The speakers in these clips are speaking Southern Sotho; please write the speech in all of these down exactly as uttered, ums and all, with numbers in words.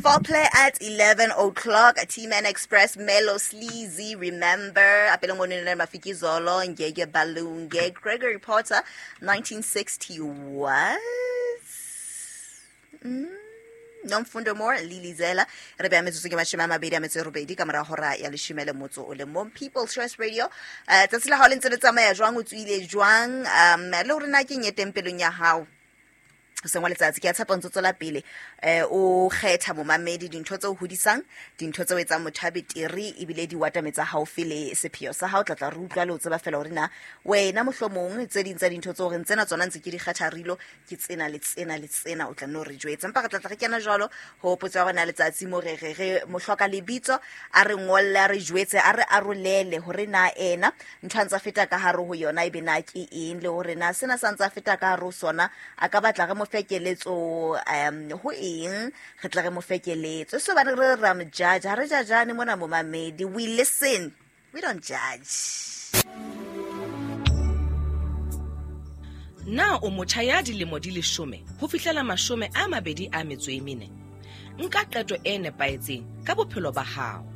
Foreplay at eleven o'clock. T-Man Express, Melo Sleazy, Remember, Apelo Monene Mafikizolo, Ngege Balunge, Gregory Porter, nineteen sixty-one. Mm. Nomfundo Moore, Lily Zela, re beha metsotso ke mashome a mabedi a metso e robedi ka mora hora ya leshome le motso o le mong. People's Choice Radio. Eh, tsatsi la hao le ntse le tsamaya jwang, o tswile jwang, um le hore na ke eng e teng pelong ya hao hoseng wa letsatsi. Ke a tshepa o ntso tswela pele, eh, o kgetha momamedi dintho tse o hodisang, dintho tse o etsang motho a betere, ebile di watametsa haufi le sepheo sa hao. Tla tla re utlwa le ho tseba fela hore na wena mohlomong tse ding tsa dintho tse o reng tsena tsona ntse ke di kgetha rilo, ke tsena le tsena le tsena, o tla nno re jwetse. Empa re tla tla re kena jwalo ho potso ya rona letsatsi mo re re re mohloka lebitso a re ngolle, a re jwetse, a re arolele hore na ena ntho a ntsa feta ka hare ho yona ebe na ke eng, le hore na sena sa ntsa feta ka hare ho sona a ka batla re mo fe keletso, um ho eng re tla re mo fe keletso. So bana re ra mo judge, ha re judgeane mona momamedi, we listen, we don't judge. Na o motjha ya dilemo di leshome ho fihlela mashome a mabedi a metso e mene? Nka qeto e nepahetseng ka bophelo ba hao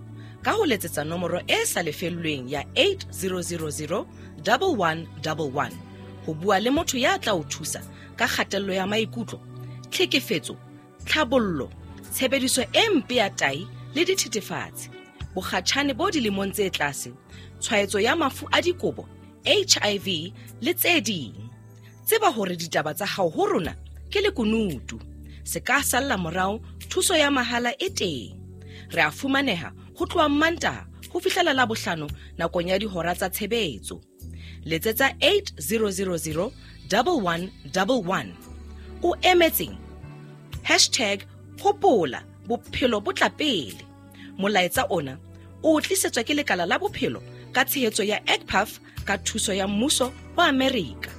ka ho letsetsa nomoro e sa lefellweng ya eight zero zero zero double one double one ho bua le motho ya tla o thusa ka kgatello ya maikutlo, tlhekefetso, tlhabollo, tshebediso e mpe ya tahi le dithethefatsi, bokgatjhane bo dilemong tse tlase, tshwaetso ya mafu a dikobo, H I V le tse ding. Tseba hore ditaba tsa hao ho rona ke lekunutu. Se ka salla morao, thuso ya mahala e teng. Re a fumaneha ho tloha Mantaha ho fihlela Labohlano nakong ya dihora tsa tshebetso. Letsetsa eight zero zero zero double one double one. O emetseng? Hashtag hopola bophelo bo tla pele. Molaetsa ona o tlisetswa ke lekala la bophelo ka tshehetso ya E C P A F ka thuso ya mmuso wa Amerika.